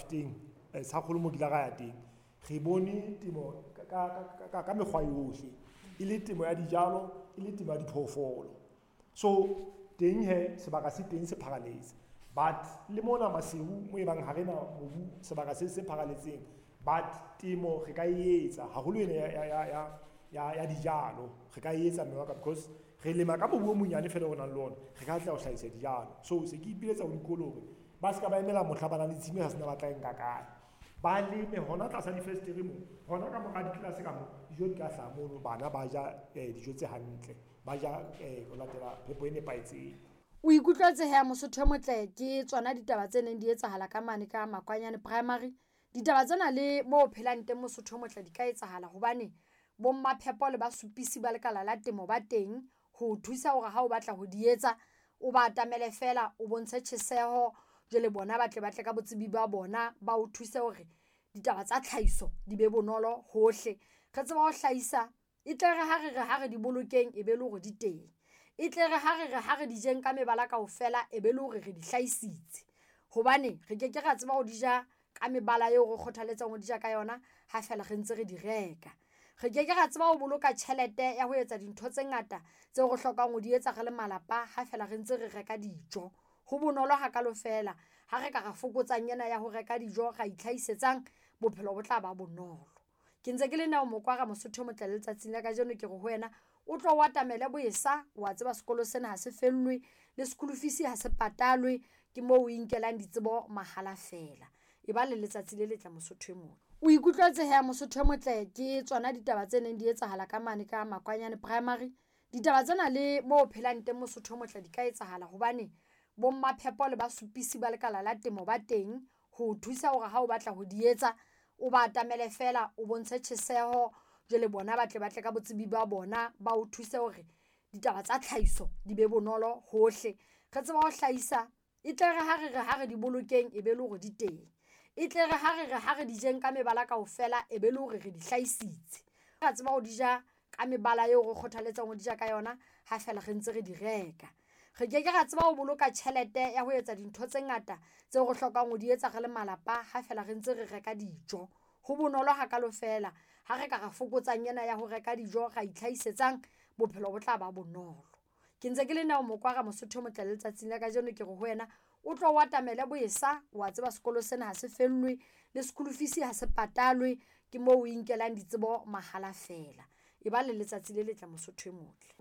Mafeteng, Tshakgolo mo kila ra ya teng, re bone temo ka mekgwa yohle, e le temo ya dijalo, e le temo ya diphoofolo. So teng hee sebaka se teng se pharaletse, but le mona Maseru mo e bang ha rena mobu sebaka se pharaletseng, but temo re ka e etsa haholo ena ya dijalo, re ka e etsa mme wa ka because re lema ka mobu o monyane fela o nang le ona, re ka atleha ho hlahisa dijalo. So se ke ipiletsa ho dikolo hore ba ska ba emela mohla ba nang le tshimo e sa sena ba tla e nka kae, ba leme hona tlasa difestere moo, hona ka mora ditlelase ka moo, dijo di ka hlaha mono, bana ba ja dijo tse hantle, ba ja ho latela phepo e nepahetseng. O ikutlwetse he Mosotho e motle, ke tsona ditaba tse neng di etsahala ka mane ka Makwanyane Primary. Ditaba tsena le mo o phelang teng Mosotho e motle di ka etsahala hobane bo mmaphepo le basupisi ba lekala la temo ba teng ho o thusa hore ha o batla ho di etsa, o ba atamele fela, o bontshe tjheseho, jwale bona ba tle ba tle ka botsebi ba bona, ba o thuse hore ditaba tsa tlhahiso di be bonolo hohle. Re tseba ho hlahisa, e tle re ha re re ha re di bolokeng e be le hore di teng, e tle re ha re re ha re di jeng ka mebala kaofela e be le hore re di hlahisitse, hobane re ke ke ra tseba ho di ja ka mebala eo re kgothaletsang ho di ja ka yona ha fela re ntse re di reka. Re ke ke ra tseba ho boloka tjhelete ya ho etsa dintho tse ngata tseo re hlokang ho di etsa re le malapa ha fela re ntse re reka dijo. Ho bonolo hakalo fela ha re ka ra fokotsang ena ya ho reka dijo, ra itlhahisetsang, bophelo bo tla ba bonolo. Ke ntse ke le Neo Mokwara Mosotho e motle le letsatsing la kajeno ke re ho wena o tlo o atamele boesa, wa tseba sekolo sena ha se fellwe, le school fees ha se patalwe, ke moo o inkelang ditsebo mahala fela. E ba le letsatsi le letle Mosotho e motle. O ikutlwetse he Mosotho e motle, ke tsona ditaba tse neng di etsahala ka mane ka Makwanyane Primary. Ditaba tsena le mo o phelang teng Mosotho e motle di ka etsahala hobane bo mmaphepo le basupisi ba lekala la temo ba teng ho o thusa hore ha o batla ho di etsa, o ba atamele fela, o bontshe tjheseho, jwale bona ba tle ba tle ka botsebi ba bona, ba o thuse hore ditaba tsa tlhahiso di be bonolo hohle. Re tseba ho hlahisa, e tle re ha re re ha re di bolokeng e be le hore di teng, e tle re ha re re ha re di jeng ka mebala kaofela e be le hore re di hlahisitse. Ra tseba ho di ja ka mebala eo re kgothaletsang ho di ja ka yona ha fela re ntse re di reka. Re ke ke ra tseba ho boloka tjhelete ya ho etsa dintho tse ngata tseo re hlokang ho di etsa re le malapa ha fela re ntse re reka dijo. Ho bonolo hakalo fela ha re ka ra fokotsang ena ya ho reka dijo, ra itlhahisetsang, bophelo bo tla ba bonolo. Ke ntse ke le Neo Mokwara Mosotho e motle le letsatsing la kajeno ke re ho wena o tlo o atamele boesa, wa tseba sekolo sena ha se fellwe, le school fees ha se patalwe, ke moo o inkelang ditsebo mahala fela. E ba le letsatsi le letle Mosotho e motle.